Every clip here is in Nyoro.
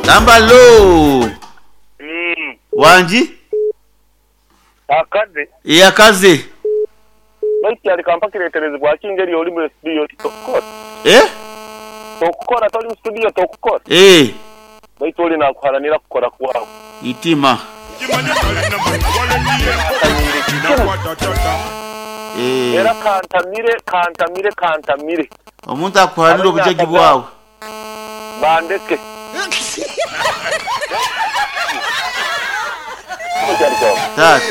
Gamba lo. Wangi? Akaze. Ee akaze. Baitu kyali kampa kireterezebwa ki ngeri oli mu studio tokukora. Eh? Tokukora toli mu studio tokukora. Ee. Baitu oli nakuharanira kukora kwawe. Itima. Akanyiire kimu. Ee. Era kantamire kantamire kantamire. Omuntu akuharanira obujagi bwawe. Bandeke. Taata.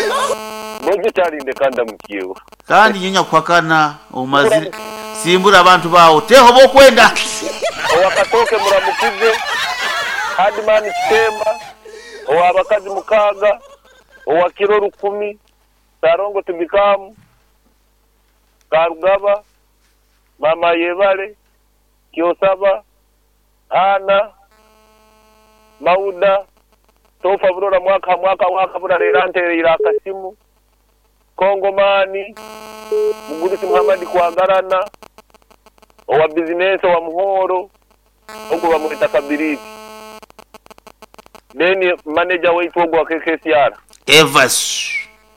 Bojo kyalindeka ndamukyewo. Kandi nyonya kuhakana omazire simbura abantu bawo teho bokwenda. Owakatooke muramukize, Hardman Kitemba, owabakazi mukaaga, owakiro 1000, Sarongo Tubikamu, Karugaba, Mama Yebale, Kyosaba, Ana, Mauda, Tofa Burora mwaka mwaka mwaka buralera ntereire akasimu, Kongomani, Mugurusi Muhammad Kwagarana, owa bizinesi owa Muhoro, ogwo bamweta Kabiriti. Then manager waitu ogwo wa KKCR. Evas.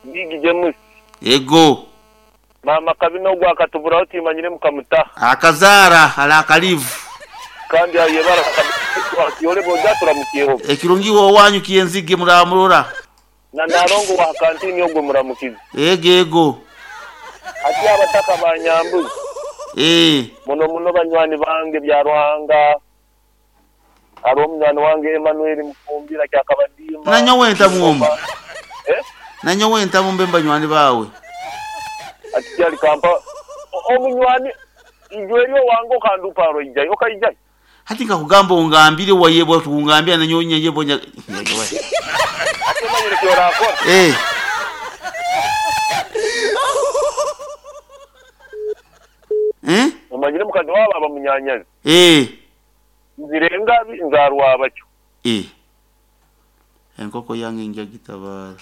Big James. Ego. Mama Kabina ogwo akatuburaho timanyire mukamutaha. Akazara ala akalivu. Kandi ayebara akiyole boja turamukiyeho. Ekirungi wo wanyu kiyenzige muramurora. Na narongo wa kantini ogwo muramukize. Ego ego. Ati abataka banyambuzi. Eh. Muno muno banywani bange bya Ruhanga. Ari omunywani wange Emmanuel Mufumbira kyakabadima. Nanyo wenta mwomba. Eh? Nanyo wenta mumbe banywani bawe. Ati kyali kampa omunywani ijweryo wango kanduparo ijai okaijai. Hati nkakugamba ongambire wayebwa tungambia nanyo nyeyebo nya. Ati manyire kyorakora. Eh. Eh? Omanyire mukazi wabo abamunyanyazi. Eh. Nzirenga nzarwa bakyo. Eh. Enkoko yange nja gitabara.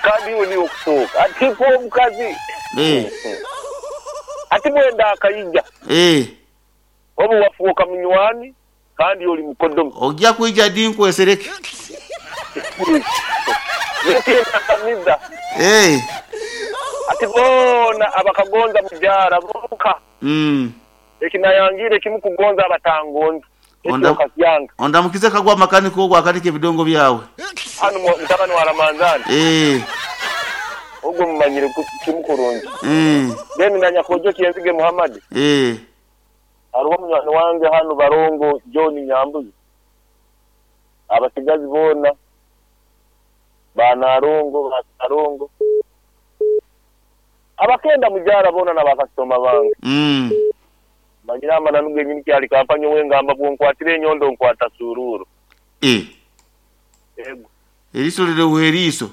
Kandi iwe niwe okusoka. Ati ko omukazi. Eh. Ati mwenda akayija. Eh. Obu wafuuka munywani kandi oli mukodomi. Ojja kwija di nkwesereke. Eh. Ati bona abakagonza mujara bonka. Ekinayangire kimu kugonza abatangonza. Onda mukize kagwa makaniko ogwo akanike ebidongo byawe. Hano mutabani wa Ramanzani. Eh. Ogwo mumanyire kimu kurungi. Eh. Then nanyakojo kiyenzige Muhammad. Eh. Hariho munywani wange hano Barongo John Nyambuzi. Abasigazi bona banarongo basarongo. Abakenda mujara bona nabakasoma bange. Manyira amana nubwe nyini kyali kampanyo wengamba bwonkwatire enyondo nkwata sururu. Eh. Ego. Eriso lire uheriso.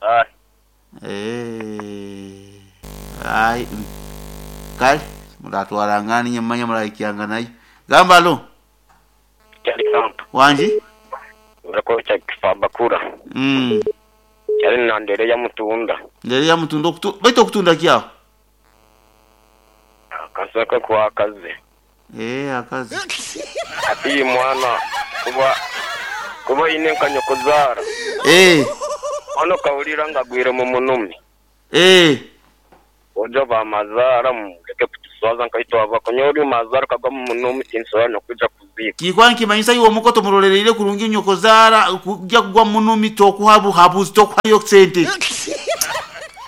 Ai. Eh. Ai. Kale muratwarangani nyamanya muraikyanga nayo. Gamba lo. Kyali kampa. Wanji? Urakocha kifabakura. Kyali na ndere ya mutunda. Ndere ya mutunda baito okutunda kyaho. Kasaka kwa akaze. Eh akaze. Ati mwana kuba ine nkanyokozara. Eh. Ono kawulira ngagwire mu munumi. Eh. Ojo ba mazara mugeke kutuswaza nkaitwa abakonyori mazara kagwa mu munumi tinsoya no kuja kuzika. Kikwa nkimanyisa iwo mukoto murolereire kurungi nyokozara kujya kugwa munumi tokuhabu habuzi tokuhayo sente.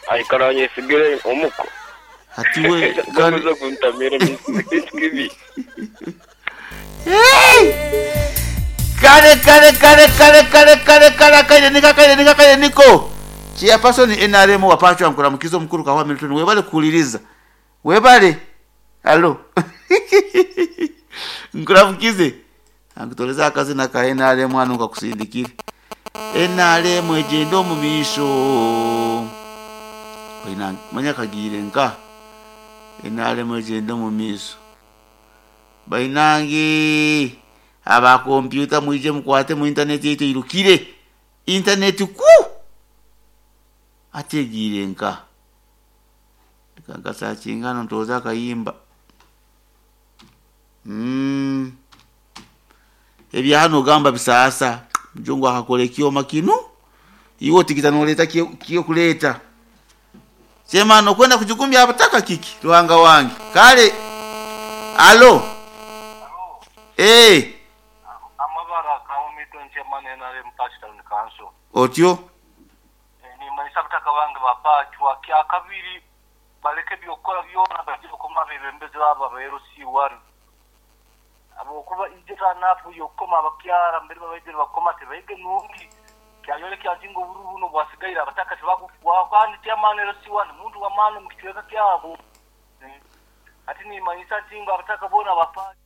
Aikaranye sigire omuko. Atiwe kandi kuntamira misikibi. Hey! Kare kare kare kare kare kare kare kare nika kare nika kare niko. Chairperson NRM wapachwa mkuramukizo mkuru kawa Milton webale kuliriza. Webale. Hello. Nkuramukize. Angutoleza akazi na ka NRM anu kakusindikire. NRM ejendo mu misho. Oina manya kagire nka. NRM ejendo mu misho. Bainange aba kompyuta mwije mukwate mu internet yetu irukire. Internet ku ategire nka. Kagasa chingano ntoza kayimba. Ebya hanu ogamba bisaasa. Mujungu akakora ekyoma kinu, iwe otigita noleeta kyokuleeta. Chairman okwenda kujugumbya abataka kiki Ruhanga wange. Kale alo. Eeh. Amabara ka Milton Chairman nrm Pacho Town Council. Otyo. Nimanyisa abataka bange ba Pachwa kyakabiri baleke ebyokukora byona baije bakome abebembezi babo aba LC1 habwokuba ijo tanapu yokukoma abakyara mbere babaijire bakoma tebaige nungi kyayolekya nti ngu obururu buno obwasigaire abataka tibakufwaho kandi Chairman LC1 muntu wamani mukicweka kyabo. Hati nimanyisa nti ngu abataka bona ba Pachwa.